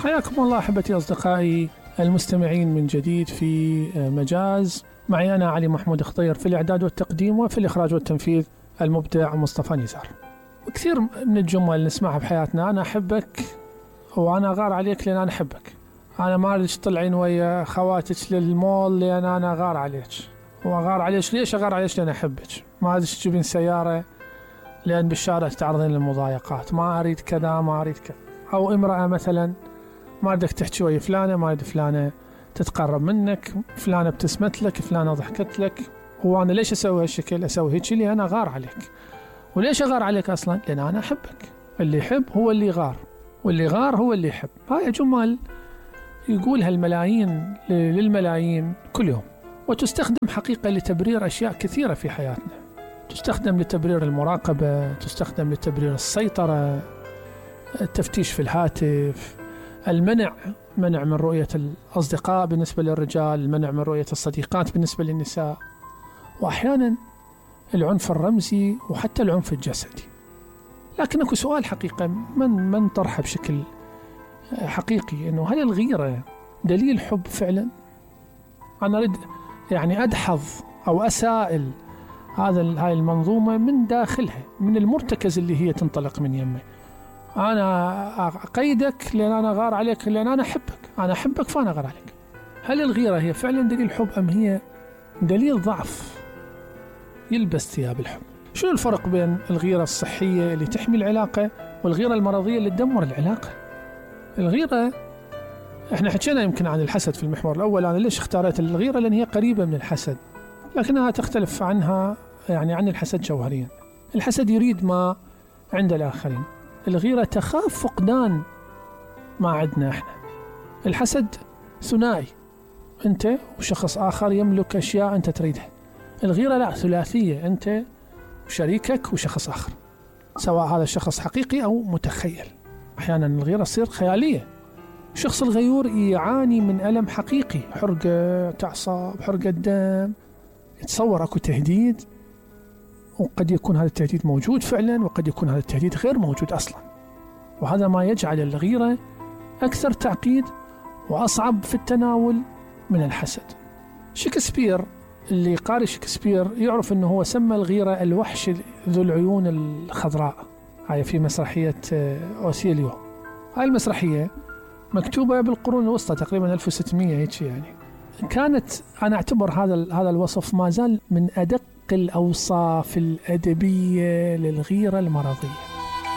حياكم الله أحبتي أصدقائي المستمعين من جديد في مجاز. معي أنا علي محمود خضير في الإعداد والتقديم، وفي الإخراج والتنفيذ المبدع مصطفى نزار. وكثير من الجمل نسمعها بحياتنا: أنا أحبك، وأنا غار عليك لأن أنا أحبك. أنا ما أريد تطلعين ويا خواتك للمول لأن أنا غار عليك. وأغار عليك ليش؟ أغار عليك لأن أحبك. ما أريد تجيبين سيارة لأن بالشارع تتعرضين للمضايقات. ما أريد كذا، ما أريد كذا. أو امرأة مثلا ما أريدك تحكي ويا فلانة، ما أريد فلانة تتقرب منك، فلانة ابتسمت لك، فلانة ضحكت لك. وأنا ليش أسوي هالشكل؟ أسوي هيك لأن أنا غار عليك. وليش أغار عليك أصلا؟ لأن أنا أحبك. اللي يحب هو اللي يغار، واللي غار هو اللي يحب. هاي جمل يقولها الملايين للملايين كل يوم، وتستخدم حقيقة لتبرير أشياء كثيرة في حياتنا. تستخدم لتبرير المراقبة، تستخدم لتبرير السيطرة، التفتيش في الهاتف، المنع من رؤية الأصدقاء بالنسبة للرجال، المنع من رؤية الصديقات بالنسبة للنساء، وأحيانا العنف الرمزي وحتى العنف الجسدي. لكن أكو سؤال حقيقة من طرحه بشكل حقيقي، إنه هل الغيرة دليل حب فعلا؟ أنا أريد يعني أدحض أو أسائل هاي المنظومة من داخلها، من المرتكز اللي هي تنطلق من يمه. أنا أقيدك لأن أنا غار عليك، لأن أنا أحبك. أنا أحبك فأنا غار عليك. هل الغيرة هي فعلا دليل حب أم هي دليل ضعف يلبس ثياب الحب؟ شو الفرق بين الغيرة الصحية اللي تحمي العلاقة والغيرة المرضية اللي تدمر العلاقة؟ الغيرة، احنا حكينا يمكن عن الحسد في المحور الأول. أنا ليش اختارت الغيرة؟ لأن هي قريبة من الحسد، لكنها تختلف عنها يعني عن الحسد جوهريا. الحسد يريد ما عند الآخرين، الغيرة تخاف فقدان ما عندنا احنا. الحسد ثنائي، انت وشخص آخر يملك أشياء انت تريدها. الغيرة لا، ثلاثية، انت وشريكك وشخص آخر، سواء هذا الشخص حقيقي أو متخيل. أحيانا الغيرة تصير خيالية. الشخص الغيور يعاني من ألم حقيقي، حرقة أعصاب، حرقة دم، يتصور أكو تهديد، وقد يكون هذا التهديد موجود فعلا، وقد يكون هذا التهديد غير موجود أصلا. وهذا ما يجعل الغيرة أكثر تعقيد وأصعب في التناول من الحسد. شكسبير، اللي قارئ شكسبير يعرف أنه هو سمى الغيرة الوحش ذو العيون الخضراء. هاي في مسرحية أوسيليو. هاي المسرحية مكتوبة بالقرون الوسطى تقريبا 1600 هيك يعني. كانت أنا أعتبر هذا الوصف ما زال من أدق الأوصاف الأدبية للغيرة المرضية.